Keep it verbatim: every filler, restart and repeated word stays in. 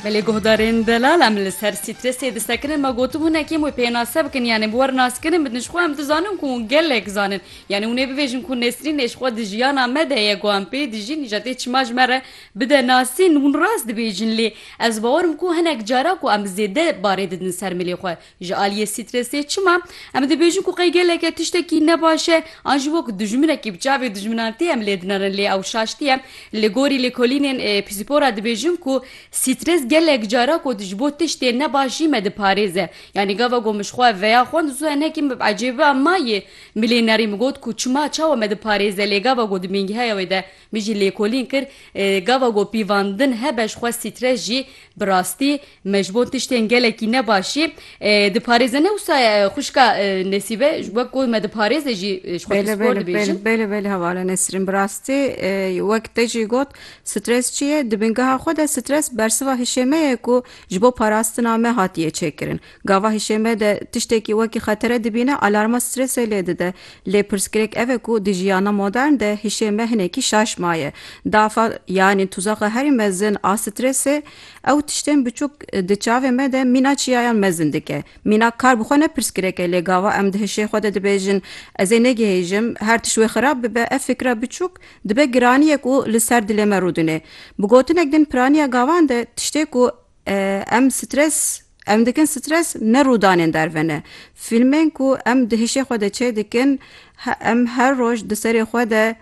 Belê guhdarên delal, em li ser stresê disekinin. Me gotibû hinekî em wê pênase bikin, yanî bi wer naskirin bidin. Ji xwe em dizanin ku hûn gelek zanin. Yanî hûn ê bibêjin ku Nesrîn ê ji xwe di jiyana me de ye, ku em pê dijîn, îja tê çima ji me re bide nasîn. Hûn rast dibêjin, lê ez bawer im ku hinek cara ku em zêde barê didin ser milê xwe. Ji aliyê stresê çima? Em dibêjin ku qey gelek e tiştekî ne baş e, an jî wek dijminekî bi çavê dijminatiyê em lê dinerin, lê ew şaş niye. Li gorî lêkolînên, e, psîkopora dibêjin ku stres gelek cara ku ji bo tiştê ne baş jî me diparêze. Yanî gava ku min ji xwe veya xwend, zû hinekî min bi ecêbiya mayê milê nerî min got ku çima, çawa me diparêze, lê gava ku di bingehê wê de min jî lêkolîn kir, e, gava ku pîvandin hebe ji xwe stres jî bi rastî me ji bo tiştên gelekî ne baş jî, e, diparêze. Ne wisa ye, xwişka, e, Nesîbe, ji wek ku me diparêze jî, e, ji xwe Belê, psîkopor belê, dibêjin. belê, belê, belê, hevala Nesrîn. Bi rastî, e, wek te jî got, stres çi ye? Di bingeha xwe de stres bersiva hişê me ye ku ji bo parastina me hatiye çêkirin. Gava hişê me de tiştekî wekî xetere dibîne, alarma stresê lê dide. Lê pirsgirêk ev e ku di jiyana modern de hişê me hinekî şaş maye. Dafa, yanî tuzaxa herî mezin a stresê, ew tiştên biçûk di çavê me de mîna çiyayan mezin dike. Mîna kar bi xwe ne pirsgirêk e, lê gava em di hişê xwe de dibêjin, "Ez ê negihêjim, her tişt wê xirab bibe", ev fikra biçûk dibe giraniyek û li ser dilê me rûdine. Bi gotinek din, piraniya gavan de tiştê ku, e, em stres, em dikin stres ne rûdanên derve ne. Fîlmên ku em di hişê xwe de çê dikin, he-, em her roj di serê xwe de